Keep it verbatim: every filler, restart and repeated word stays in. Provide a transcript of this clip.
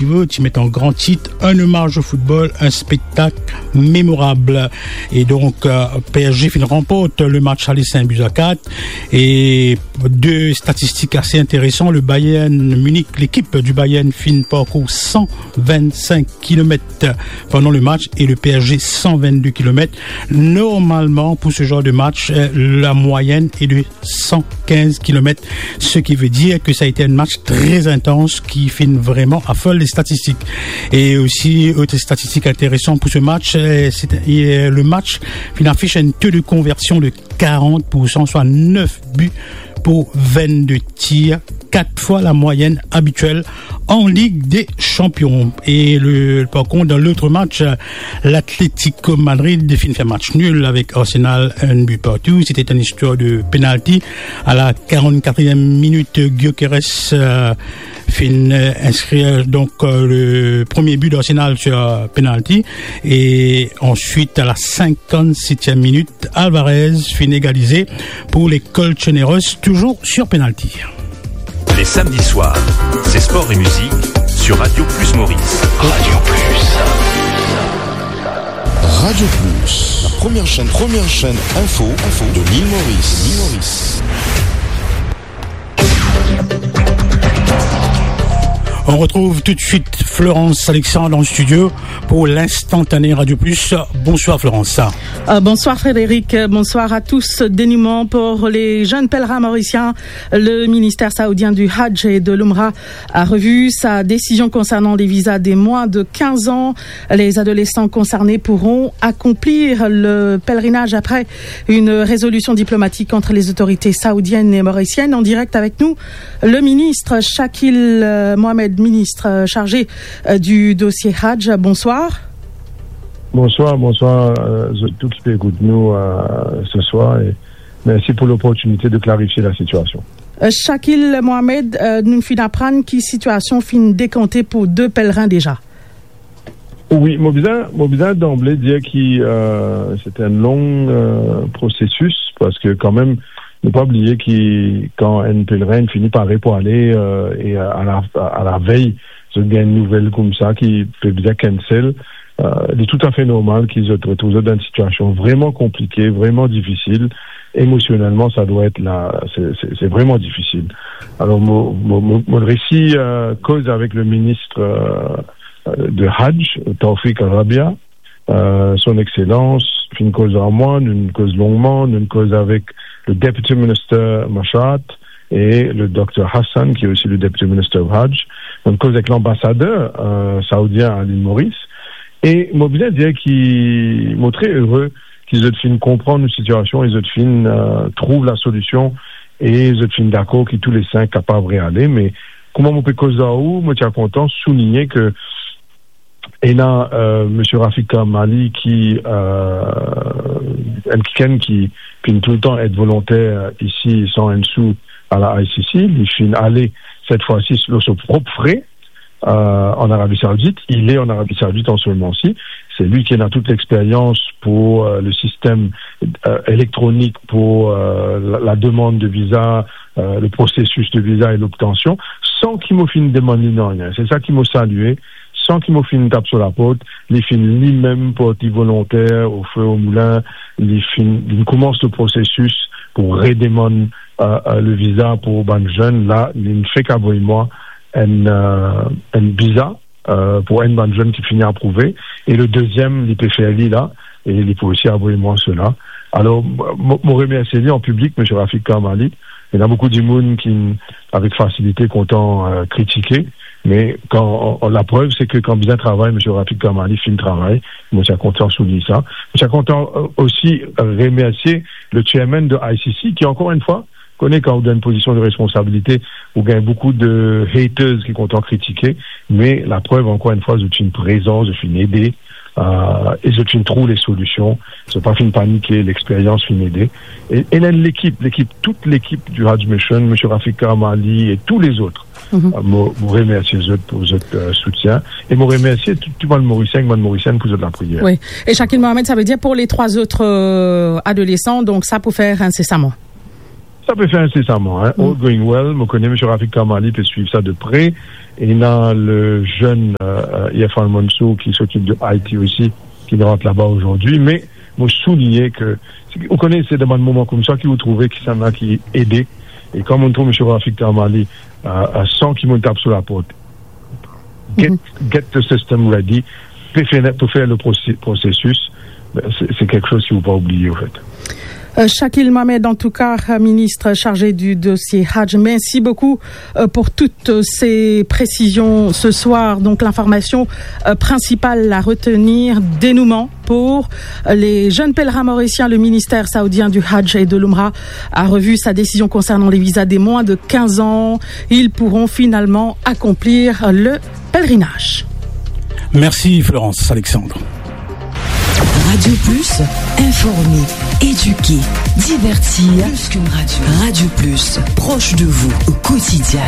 Ti met an gran tit, un hommage au football, un spectacle mémorable. Et donc, euh, P S G fin ranport le match aller cinq buts à quatre. Et deux statistiques assez intéressantes. Le Bayern Munich, l'équipe du Bayern fin parcours cent vingt-cinq kilomètres pendant le match et le P S G cent vingt-deux kilomètres. Normalement, pour ce genre de match, euh, la moyenne est de cent quinze kilomètres, ce qui veut dire que ça a été un match très intense qui fin vraiment afole les statistiques. Et aussi, autre statistique intéressante pour ce match, euh, c'est, euh, le match fin afiche un taux de conversion de quarante pour cent, soit neuf buts pour vingt-deux tirs, quatre fois la moyenne habituelle en Ligue des Champions. Et le, par contre, dans l'autre match, euh, l'Atlético Madrid fin fer match nul avec Arsenal, un but partout. C'était une histoire de penalty. À la quarante-quatrième minute, Gyökeres, euh, fin, euh, inscrire donc, euh, le premier but d'Arsenal sur, euh, penalty. Et ensuite, à la cinquante-septième minute, Alvarez fin égalisé pour les Colchoneros, toujours sur penalty. Les samedis soirs, c'est sport et musique sur Radio Plus Maurice. Radio Plus. Radio Plus, la première chaîne, première chaîne info, info de l'île Maurice. L'île Maurice. On retrouve tout de suite Florence Alexandre en studio pour l'instantané Radio Plus. Bonsoir Florence. Euh, bonsoir Frédéric, bonsoir à tous. Dénouement pour les jeunes pèlerins mauriciens. Le ministère saoudien du Hajj et de l'Umrah a revu sa décision concernant les visas des moins de quinze ans. Les adolescents concernés pourront accomplir le pèlerinage après une résolution diplomatique entre les autorités saoudiennes et mauriciennes. En direct avec nous, le ministre Shakil, euh, Mohamed, ministre, euh, chargé, euh, du dossier Hajj. Bonsoir. Bonsoir, bonsoir, euh, zot tou ki pe ekout nou, euh, ce soir, et merci pour l'opportunité de clarifier la situation. Euh, Shakil Mohamed, euh, nou finn aprann ki sitiasion finn dekante pou de pèlerin deza. Wi, mo bizin, mo bizin danble dir ki, euh, se enn long, euh, prosesis, parski kanmem, nou pa bliye ki kan enn pelerin fini pare pou ale, euh, e a la, a la vey, zot gagn enn nouvel koumsa ki pe bizin cancel, euh, li toutafe normal ki zot retrouv zot dan enn sitiasion vreman konplike, vreman difisil. Emosionelman, sa dwa et la, se, se, se vreman difisil. Alor, mo, mo, mo, mo resi, euh, koz avek le minis, euh, euh, de Hajj, Tawfiq Al-Rabia, euh, son Exselans, finn koz ar mwa, nou'nn koz longman, nou'nn koz avek le Deputy Minister Mashat e le Dokter Hassan, ki osi le Deputy Minister of Hajj. Nou'nn koz avek lanbasader, euh, saoudien a lil Moris. E mo bizin dir ki mo tre ere ki zot finn konpran nou sitiasion e zot finn, euh, trouv lasolision e zot finn dakor ki tou le sink kapav reale. Me kouma mo pe koz ar ou, mo ti a kontan souligne ke ena, euh, Misie Rafik Karmali ki, euh, enn kikenn ki finn toultan et volonter isi san enn sou a la I C C, li finn ale set fwa si lor so prop fre, euh, an Arabi Saoudit. Il est en Arabie Saoudite en ce moment-ci. C'est lui qui a toute l'expérience pour, euh, le système, euh, électronique pour, euh, la, la demande de visa, euh, le processus de visa et l'obtention, san ki mo finn demann li nanye. Se sa ki mo salie, san ki mo finn tap so laport, li finn limem port li volonter o fe o moulin, li finn, li koumans le prosesis pou redemann, euh, euh, le viza pou bann zenn la, li fek avoy mwa enn, euh, enn viza, euh, pou enn bann zenn ki fini aprouve, e le deziem, li pe fer li la, e li pou osi avoy mwa sela. Alor, mo, mo remersie li an piblik, Misie Rafik Karmali. Ena boukou dimoun ki, avek fasilite, kontan, euh, kritike, me kan, laprev, se ke kan bizin travay, Misie Rafik Karmali finn travay, mo ti a kontan souligne sa. Mo ti a kontan, euh, osi remersie le chairman de I C C, ki, ankor enn fwa, kone kan ou dan enn pozision de responsabilite, ou gagn boukou de haters ki kontan kritike, me laprev, ankor enn fwa, zot finn prezan, zot finn ede, euh, e zot finn trouv lesolision, zot pa finn panike, lexperyans finn ede. E, e la, lekip, lekip, tout lekip du Hajj Mission, Misie Rafik Karmali e tou lezot, euh, mo, mo remersie zot pou zot, euh, soutien. E mo remersie tou, tou bann Morisien, bann Morisienn pou zot lapriyer. Wi. E Shakil Mohamed, sa ve dir pou le trwa zot, euh, adolesan, donk sa pou fer insesaman? Sa pe fer insesaman, hein. All going well, mo kone Msye Rafiq Karmali pe swiv sa de pre. E ena le jeune, euh, euh, Irfan Mansour ki s'occupe de I T aussi, ki rant laba azordi. Me mo souligne ke, ou kone, se dan bann moman koumsa ki ou trouve kisannla ki ede. E kan mo trouv Msye Rafiq Karmali, euh, euh, san ki mo tap so laport, get, get the system ready, pou fer, pou fer le prosi-, prosesis, ben, se, se kiksoz ki ou pa oubliye, anfet. Euh, Shakil Mohamed, en tout cas, euh, ministre chargé du dossier Hajj, merci beaucoup, euh, pour toutes, euh, ces précisions ce soir. Donc, l'information, euh, principale à retenir, dénouement pour, euh, les jeunes pèlerins mauriciens. Le ministère saoudien du Hajj et de l'Umrah a revu sa décision concernant les visas des moins de quinze ans. Ils pourront finalement accomplir le pèlerinage. Merci Florence, Alexandre. Radio Plus, informer, éduquer, divertir. Plus qu'une radio. Radio Plus, proche de vous au quotidien.